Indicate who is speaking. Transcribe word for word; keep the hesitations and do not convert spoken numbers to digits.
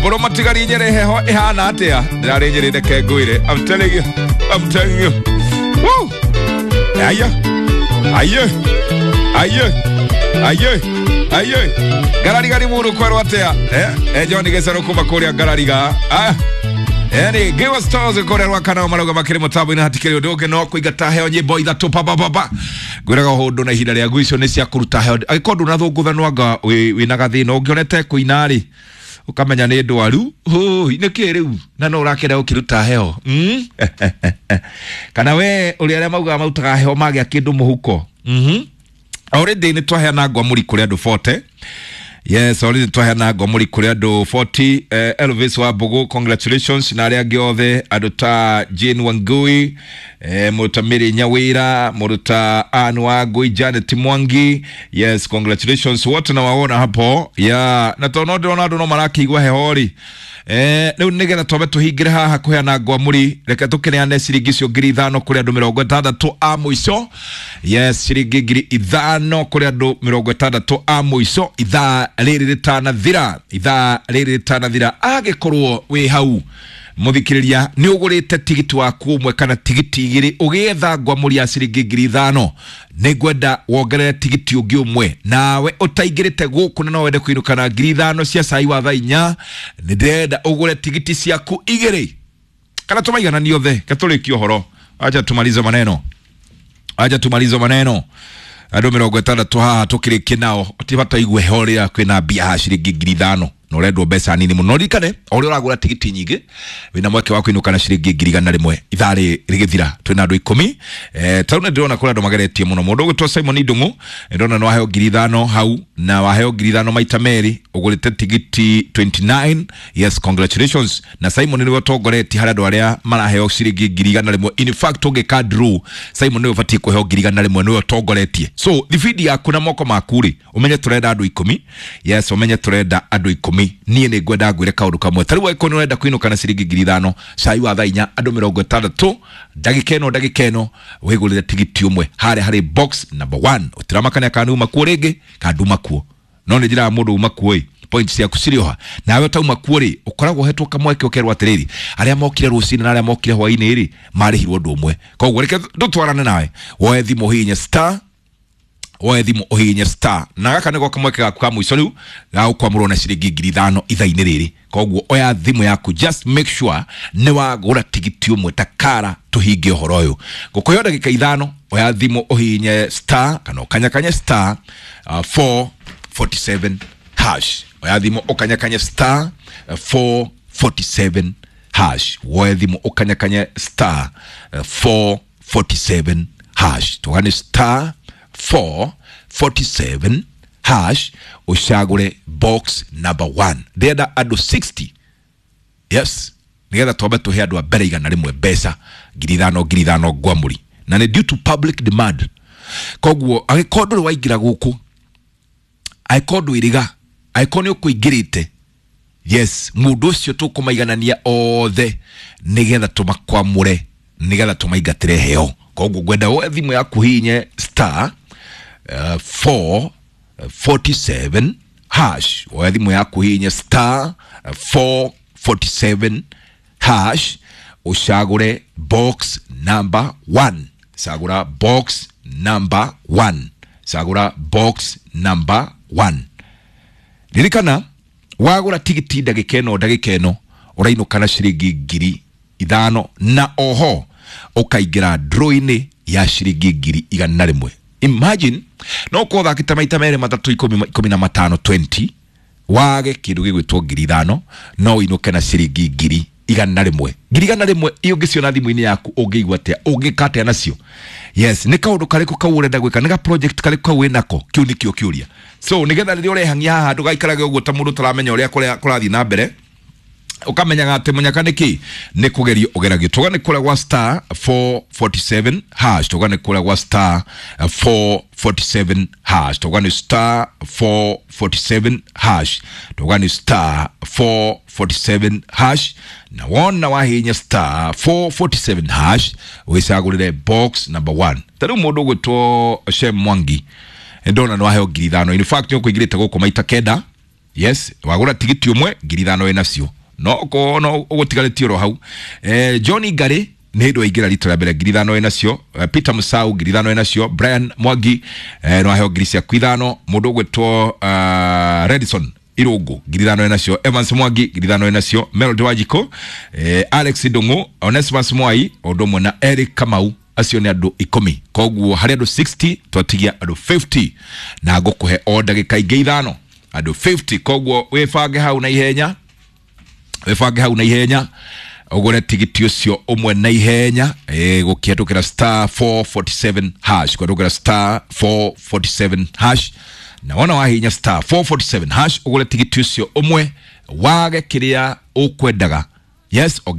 Speaker 1: Samburu matigari Nyeri heho ihana atia? Ndirarĩ Nyeri reke ngwĩre. I'm telling you. I'm telling you. Woo! Aya. Aye. Aye. Aye. Aye. Ngarariga Limuru kwerwo atia? Eh, eh John Gecero kuma kuria Ngarariga. Ah. Yani Give us stars kũrĩa Rwakana marauga makĩrĩ mũtambo-inĩ hatikĩrĩ ũndũ ũngĩ no kũingata heo nyĩmbo ithatũ pa pa pa pa. Ngwĩraga ũndũ na ihinda rĩa icio nĩ cia kũruta heo. Angĩkorwo ndũnathũngũthanwo anga wĩna gathĩna ũngĩonete kũina rĩ ũkamenya nĩ ndwaru. Hũi nĩkĩ rĩu na no ũrakĩenda gũkĩruta heo. Mm? Kana we ũrĩa arĩa maugaga marutaga heo magĩa kĩndũ mũhuko. Mhm. Already nĩ twaheana ngwamũri kũrĩ andũ forty. Yes, already twaheana ngwamũri kũrĩ andũ forty. Eh, Elvis wa Mbugu, congratulations na arĩa angĩ othe andũ ta Jane Wangui, eh, mũndũ ta Mary Nyawira, mũndũ ta Ann Wangui, Janet Mwangi. Yes, congratulations wote na waona hapo. Yeah, na tondũ no ndĩrona andũ no marakĩigua heho rĩ. Eh, rĩu nĩgetha twambe tũhingĩre haha kũheana ngwamũri, reke tũkĩneane ciringi icio ngiri ithano kũrĩ andũ mĩrongo ĩtandatũ a mũico. Yes, ciringi ngiri ithano kũrĩ andũ mĩrongo ĩtandatũ a mũico ithaa rĩrĩ rĩtanathira, ithaa rĩrĩ rĩtanathira. Angĩkorwo wĩ hau mũthikĩrĩria nĩ ũgũrĩte tigiti waku ũmwe kana tigiti igĩrĩ ũgĩetha ngwamũri ya ciringi ngiri ithano, nĩ ngwenda wongerere tigiti ũngĩ ũmwe. Nawe ũtaingĩrĩte gũkũ na no wende kũinũka na ngiri ithano cia cai wa thaa inya, nĩ ndĩrenda ũgũre tigiti ciaku igĩrĩ kana tũmaigananie othe. Reke tũrĩkie ũhoro, acha tumalize maneno, acha tumalize maneno. Andũ mĩrongo ĩtandatũ haha tũkĩrĩkie nao ti bata igue heho rĩrĩa kwĩna mbia haha ciringi ngiri ithano na ũrendwo mbeca nini mũno. Ririkane o ũrĩa ũragũra tigiti nyingĩ wĩna mweke wa kũinũka na ciringi ngiri igana rĩmwe ithaa rĩ rĩgĩthira. Twĩna andũ ikũmi. Eh, tarĩu nĩ ndĩrona kũrĩ andũ mageretie mũno. Mũndũ ũgwĩtwo Simon Ndung'u ndĩrona nĩ waheo ngiri ithano hau na waheo ngiri ithano maita merĩ ũgũrĩte tigiti twenty-nine. Yes, congratulations. Na Simon nĩwe ũtongoretie harĩ andũ arĩa maraheo ciringi ngiri igana rĩmwe. In fact ũngĩka draw Simon nĩwe ũbatiĩ kũheo ngiri igana rĩmwe, nĩwe ũtongoretie. So thibindi yaku na moko maku rĩ, ũmenye tũrenda andũ ikũmi. Yes, ũmenye tũrenda andũ ikũmi. Niĩ nĩ ngwenda ngwĩre kaũndũ kamwe. Ta rĩu angĩkorwo nĩ ũrenda kũinũka na ciringi ngiri ithano cai wa thaa inya andũ mĩrongo ĩtandatũ ndagĩka ĩno ndagĩka ĩno wĩgũrĩre tigiti ũmwe harĩa harĩ box number one. Ũtiramakania kana nĩ uma kuo rĩngĩ kana nduma kuo, no nĩ njĩraga mũndũ uma kuo ĩ points ciaku cirĩ oha. Nawe ũtauma kuo rĩ ũkoragwo ũhetwo kamweke ũkerwo atĩrĩrĩ, arĩa mokire rũcinĩ na arĩa mokire hwaĩ-inĩ rĩ marĩhirwo ũndũ ũmwe. Koguo reke ndũtwarane nawe, woe thimũ ũhihinye star, woe thimũ ũhihinye star, na gaka nĩko kamweke gaku ka mũico rĩu ga gũkwamũrwo na ciringi ngiri ithano ithaa-inĩ rĩrĩ. Koguo oya thimũ yaku, just make sure nĩ wagũra tigiti ũmwe ta kara tũhinge ũhoro ũyũ. Ngũkũhe ndagĩka ithano, oya thimũ ũhihinye star kana ũkanyakanye star uh, four forty-seven hash. Oya thimũ ũkanyakanye star uh, four forty-seven hash. Woe thimũ ũkanyakanye star uh, four forty-seven hash. Tũgane star four forty-seven hash ũcagũre box number one. Ndĩrenda andũ sixty. Yes, nĩgetha twambe tũhe andũ a mbere igana rĩmwe mbeca ngiri ithano ngiri ithano ngwamũri, na nĩ due to public demand. Koguo angĩkorwo ndũrĩ waingĩra gũkũ, angĩkorwo ndwĩrĩga, angĩkorwo nĩ ũkũingĩrĩte, yes, mũndũ ũcio tũkũmaiganania othe nĩgetha tũmakwamũre, nĩgetha tũmaingatĩre heo. Koguo ngwenda woe thimũ yaku hihinye star uh, four forty-seven hash. Woe thimũ yaku hihinye star uh, four forty-seven hash ũcagũre box number one. Cagũra box number one. Cagũra box number one. Ririkana wagũra tigiti ndagĩka ĩno ndagĩka ĩno ũrainũka na ciringi ngiri ithano na oho ũkaingĩra draw-inĩ ya ciringi ngiri igana rĩmwe. Imagine no ũkorwo ũthakĩte maita merĩ matatũ ikũmi ikũmi na matano twenty wage kĩndũ gĩgwĩtwo ngiri ithano no ũinũke na ciringi ngiri igana rĩmwe. Ngiri igana rĩmwe iyo ũngĩciona thimũ-inĩ yaku ũngĩigua atĩa, ũngĩka atĩa nacio? Yes, nĩ kaũndũ karĩkũ kau ũrenda gwĩka, nĩ ga project karĩkũ kau wĩnako? Kĩu nĩkĩo kĩũria. So nĩgetha rĩrĩa ũrehang'ia haha ndũgaikarage ũguo ta mũndũ ũtaramenya ũrĩa kũrathiĩ na mbere, ukamenyaga atĩ mũnyaka nĩ kĩ nĩ kũgerio ũgeragio. Tuga nĩ kũrĩa gwa star four forty-seven hash. Tuga nĩ kũrĩa gwa star four forty-seven hash. Tuga nĩ star four forty-seven hash. Tuga nĩ star four forty-seven hash. Na wona wahinya star four forty-seven hash wĩcagũrĩre box number one. Ta rĩu mũndũ ũgwĩtwo Shem Mwangi ndona nĩ waheo ngiri ithano. In fact nĩ ũkũingĩrĩte gũkũ maita kenda. Yes, wagũra tigiti ũmwe ngiri ithano wĩ nacio, no ko no ũgũtigarĩtie oro hau. eh, Johnny Ngari nĩ hĩndĩ waingĩra rita rĩa mbere, ngiri ithano wĩ nacio. eh, Peter Musau, ngiri ithano wĩ nacio. Brian Mwangi, eh, no aheo ngiri ciaku ithano. Mũndũ ũgwĩtwo uh, Redison Irungu, ngiri ithano wĩ nacio. Evans Mwangi, ngiri ithano wĩ nacio. Melody Wajiko, eh, Alex Ndung'u, Onesimus Mwai, ũndũ ũmwe na Eric Kamau, acio nĩ andũ ikũmi. Koguo harĩ andũ mĩrongo ĩnana twatigia andũ mĩrongo ĩnana, na ngũkũhe o ndagĩka ingĩ ithano, andũ mĩrongo ĩnana. Koguo wĩbange hau na ihenya, wĩbange hau na ihenya, ũgũre tigiti ũcio ũmwe na ihenya, e, gũkĩhetũkĩra star four forty-seven hash, kũhetũkĩra star four forty-seven hash. Na wona wahinya star four forty-seven hash ũgũre tigiti ũcio ũmwe, wage kĩrĩa ũkwendaga. Yes, ongerera.